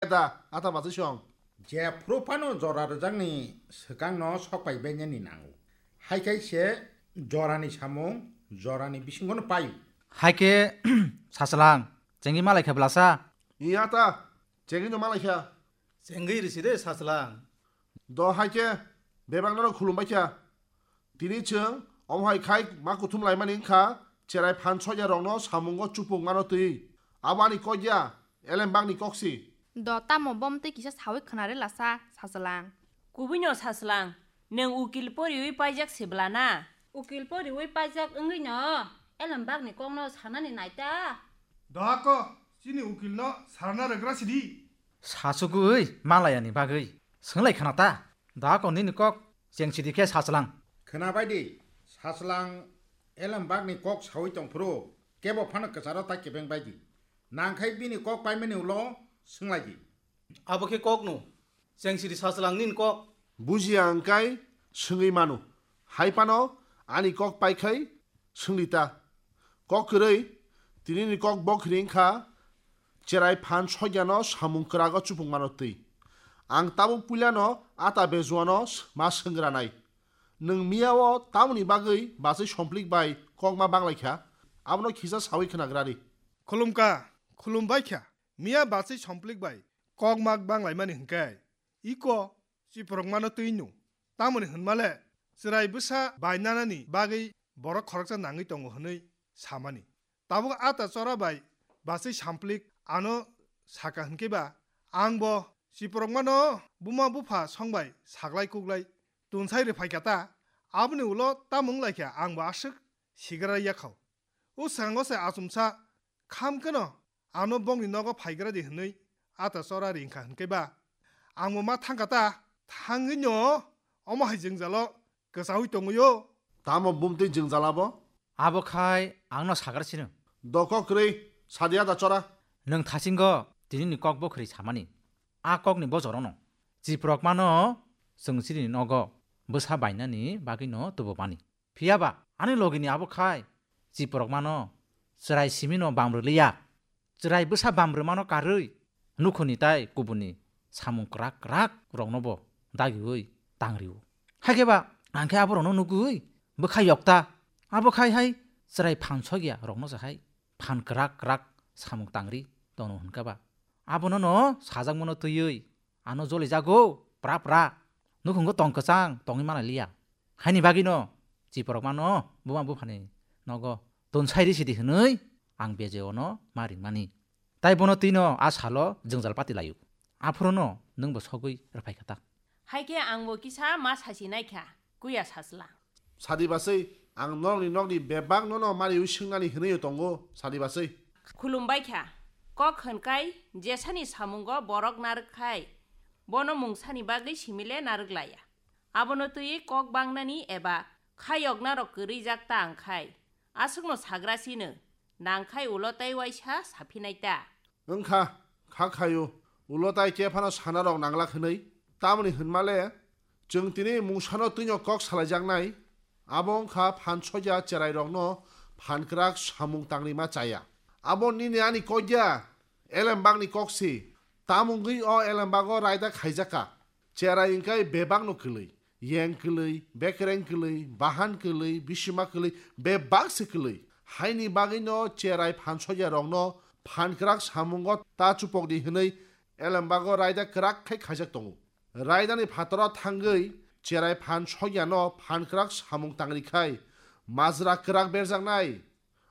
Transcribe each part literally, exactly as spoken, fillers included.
da, ata bachwi song. Jephru phano jora rwjakni swkangno sok pai bainani nango. Hai khai se jorani samung jorani bisingono paio. Hai khe, Sachwlang, chengwi malai kha bwlasa? Iya ta, chengwino malai kha. Chengwi risi de, Sachwlang. Do hai khe, bebak norok khulum bai kha. Tini chwng omo hai khai ma kuthum laimani wngkha, cherai phan sokya rokno samungo chupung mano twi. Abo ani kok ya, elembakni kok si. Do tamo bom twi kisa sawi khwnare lasa, Sachwlang. Kubuino Sachwlang, nwng ukil poriwi paijak se bwlana? Ukil poriwi paijak wngwino elembakni kokno sanani naita. Dohako, chini ukilno sarna rwgra sidi. Sachugwi malayani bagwi swnglai khna ta. Dohako nini kok cheng sidi khe Sachwlang. Khna bai di, Sachwlang elembakni kok sawi tongphuru kebo phano kwcharo ta kebeng bai di. Nangkhai bini kok paimani ulo swnglai di. Abo khe kokno. Chengsiri Sachwlang nini kok. Bujiya wngkai swngwi mano. Hai phano ani kok pai khai swngdi ta. Kok kwrwi, tinini kok bokhri wngkha, cherai phan sokyano samung kwrago chupung mano twi. Ang tabuk puilano ata bejuano ma swngranai. Nwng miyao tamoni bagwi bachwi somplik bai kok ma banglaikha? Abono khisa sawi khnagrari. Khulumka, khulumbaikha. Miya bachwi somplik bai kok ma banglaimani hwnkhe, iko chiprokmano twi nw. Tamoni hwnmale chwrai bwsa bainanani bagwi borok khoroksa nangwi tongo hwnwi samani. Tabuk ata chora bai bachwi samplik ano saka hwnkhe ba, ang bo chiprokmano buma bupha songbai saklai kuklai tunsai rwphaikha ta, aboni ulo tamo wnglaikha ang bo aswk sigra yakhao. O swkango se achomsa kham kheno ano bongni nogo phaigra di hwnwi ata chora ringkha hwnkhe ba, ang bo ma thangkha ta, thangwino omo hai jwngjalo kwchaui tongwio. Tamo bumtwi jwngjal abo? Abo khai angno sagar sino. Doko kwrwi, sadi ata chora. Nwng thasingo tinini kok bokhri samani. A kokni bojorono chiprokmano chwng chini nogo bwsa bainani bagwino tubumani. Phiya ba ani logini abo khai chiprokmano chwrai simino bamrwliya. Chwrai bwsa bamrwmano karwi nukhuni tai kubuni samung kwrak kwrak rokno bo dagiwi tangrio. Hakhe ba ang khe aborokno nugwi bwkha yokta. Abo khai hai chwrai phan sokya rokno se hai phan kwrak kwrak samung tangri tono hwnkha ba. Abono no sajakmano twiwi ano jolijago pra pra. Nukhungo tong kwchang tongwi manaliya. Haini bagwino chiprokmano buma buphani nogo tonsai risidi hwnwi ang beje ono ma ringmani. Tai bono twino a salo jwngjal pati laio. Aphurono nwngbo sogwi rwphaikha ta. Hai khe angbo kisa ma sasi naikha, kuya Sachwlang. Sadi bachwi, ang norokni nokni bebak nono mariwi swngnani hwnwi tongo, sadi bachwi. Khulumbaikha, kok hwnkai jesani samungo borok narwk khai, bono mungsani bagwi simile narwk laya. Abono twiwi kok bangnani eba khayoknarok kwrwijak ta wngkhai, aswkno sagra sino, nangkhai ulo tei waisa saphinai ta. Wngkha, kha khaio, ulo tai khe phano sanarok nanglak hwnwi. Tamoni hwnmale, chwng tini mungsano twino kok salaijaknai, abo wngkha phan sokya cherairokno phan kwrak samung tangrima chaya. Abo nini ani kok ya, elembakni kok si, tamo wngwi o elembago raida khaijakha. Cherai wngkhe bebakno kwlwi, yeng kwlwi, bekereng kwlwi, bahan kwlwi, bisima kwlwi, bebak se kwlwi. Haini bagwino cherai phan sokya rokno phan kwrak samungo ta chupokdi hwnwi elembago raida kwrak khai khaijak tongo. Raidani phataro thangwi cherai phan sokyano phan kwrak samung tangri khai majra kwrak berjaknai.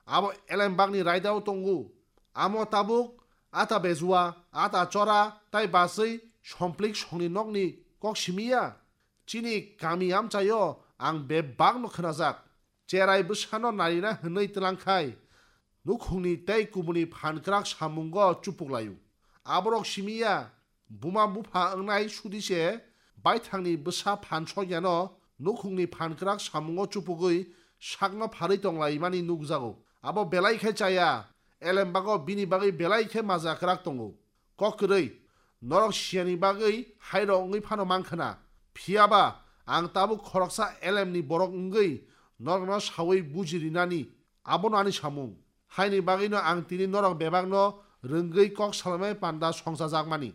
Abo elembakni raidao tongo. Amo tabuk ata bejua, ata chora, tai bachwi somplik songni nokni kok simiya. Chini kami amchaio ang bebakno khwnajak. Cherai bwsano narina hwnwi twlangkhai nukhungni tei kubuni phan kwrak samungo chupuklaio. Aborok simiya, buma bupha wngnai sudi se baithangni bwsa phan sokyano nukhungni phan kwrak samungo chupugwi sakno pharwi tonglaimani nukjago. Abo belai khe chaya, elembago bini bagwi belai khe maja kwrak tongo. Kok kwrwi, norok siyani bagwi hairok wngwi phano mankha na. Phiya ba, ang tabuk khoroksa elemni borok wngwi norokno saui buji rinani, abono ani samung. Haini bagwino ang tini norok bebakno rwngwi kok salaimani panda songchajakmani.